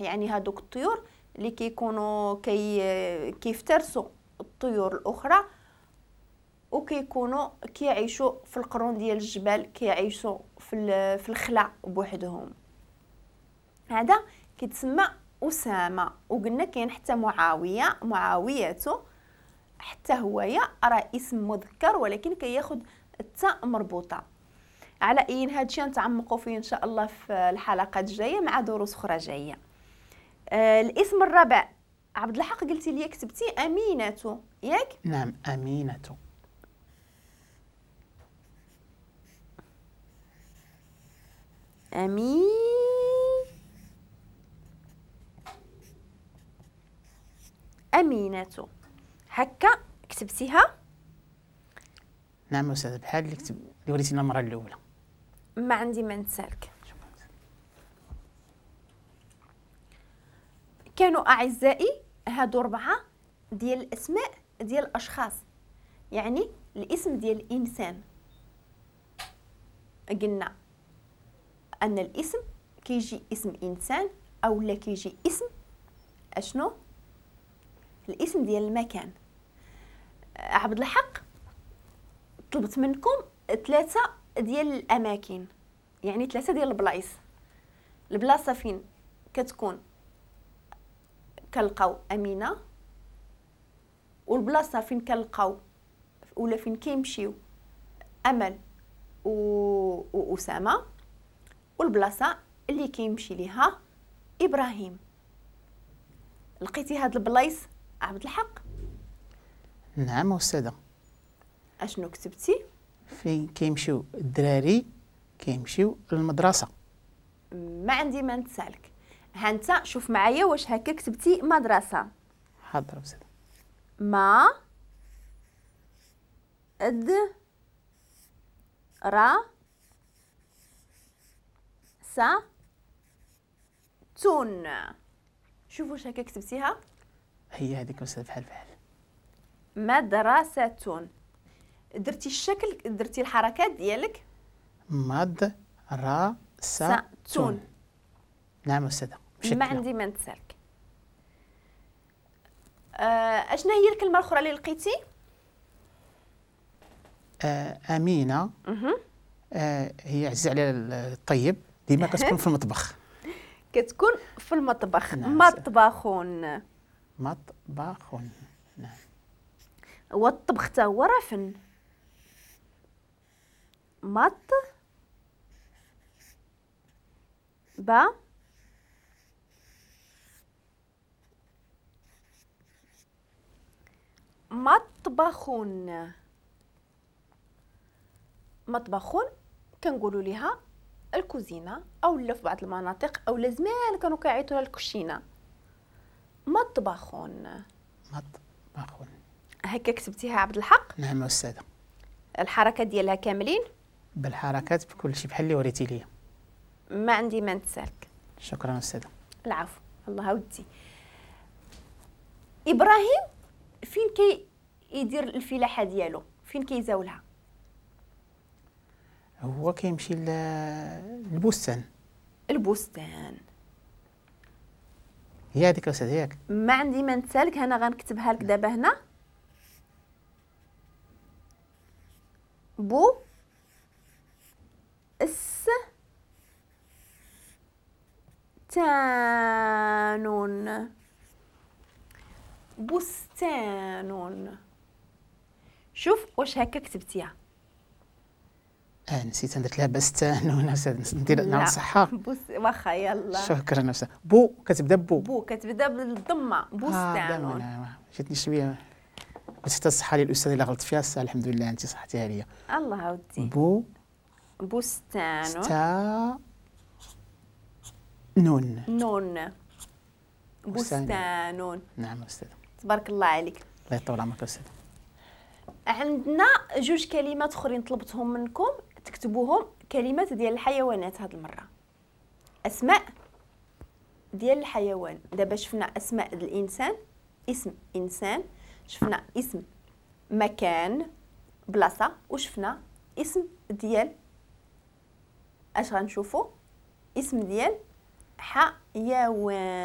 يعني هادوك الطيور اللي كيكونوا كيفترسوا الطيور الاخرى وكيكونوا كيعيشوا في القرون ديال الجبال، كيعيشوا في الخلا بوحدهم. هذا كيتسمى أسامة. وقلنا كاين حتى معاوية، معاوية حتى هويا راه اسم مذكر ولكن كياخذ التاء مربوطة. على اي هادشي نتعمقوا فيه ان شاء الله في الحلقات الجاية مع دروس اخرى جاية. الاسم الرابع عبد الحق قلتي لي كتبتي امينه، ياك؟ نعم امينه. أمينة هكا كتبتيها؟ نعم أستاذ، بحال اللي كتب اللي وريتينا المرة الأولى. ما عندي ما نتسالك. كانوا أعزائي هادو 4 ديال الأسماء ديال الأشخاص، يعني الاسم ديال الإنسان. قلنا أن الاسم كيجي اسم إنسان أو لا كيجي اسم أشنو؟ الاسم ديال المكان. عبد الحق طلبت منكم 3 ديال الاماكن، يعني 3 ديال البلايص. البلاصة فين كتكون كنلقاو امينه، والبلاصه فين كنلقاو ولا فين كيمشيو امل واسامة، والبلاصه اللي كيمشي ليها ابراهيم. لقيتي هاد البلايص عبد الحق؟ نعم أستاذة. اشنو كتبتي؟ فين كيمشيو الدراري كيمشيو للمدرسة. ما عندي ما نتسالك. ها انت شوف معايا واش هكا كتبتي مدرسة. حاضر أستاذة. ما د را سا تون. شوفوا واش هكا كتبتيها؟ هي هذيك أستاذ، بحال بحال. مدرسة. درتي الشكل، درتي الحركات ديالك. مدرسة. نعم أستاذة. ما عندي ما نتسالك. اشنا هي الكلمة الأخرى اللي لقيتي؟ أمينة. هي عزيزة على الطيب، ديما كتكون في المطبخ. كتكون في المطبخ. نعم. مطبخ. مطبخ. نعم. والطبخ تا هو راه فن. مط با مطبخ. مطبخ كنقولوا ليها الكوزينة، او لا في بعض المناطق او زمان كانوا كيعيطوا لها الكوشينه. مطبخ. مطبخ. هكا كتبتيها عبد الحق؟ نعم أستاذة. الحركة ديالها كاملين؟ بالحركات بكل شيء بحال اللي وريتي ليا. ما عندي ما نتسالك. شكرا أستاذة. العفو. الله ودي. إبراهيم فين كي يدير الفلاحة ديالو؟ فين كيزاولها؟ هو كيمشي للبستان. البستان. هي هذيك أستاذة ياك؟ ما عندي ما نتسالك. انا غنكتبها لك دابا هنا. بو اس تانون. بستان. شوف واش هكا كتبتيها. نسيت درت لها بستان. ندير نصحها. واخا يلا. شكرا أستاذ. بو كتبدا بو. بو كتبدا بالضمه. بستان. جاتني شوية قلت حتى الصحة للاستاذ الا غلطت فيها. الساعة الحمد لله انت صحتيها ليا. الله ودي. بو بستان. ستا نون. نون. بستان. نعم أستاذ. تبارك الله عليك. الله يطول عمرك أستاذ. عندنا 2 كلمات اخرين طلبتهم منكم تكتبوهم، كلمات ديال الحيوانات هاد المرة. اسماء ديال الحيوان. دابا شفنا اسماء الانسان، اسم انسان، شفنا اسم مكان بلاصة، وشفنا اسم ديال اش غنشوفوا؟ اسم ديال حيوان.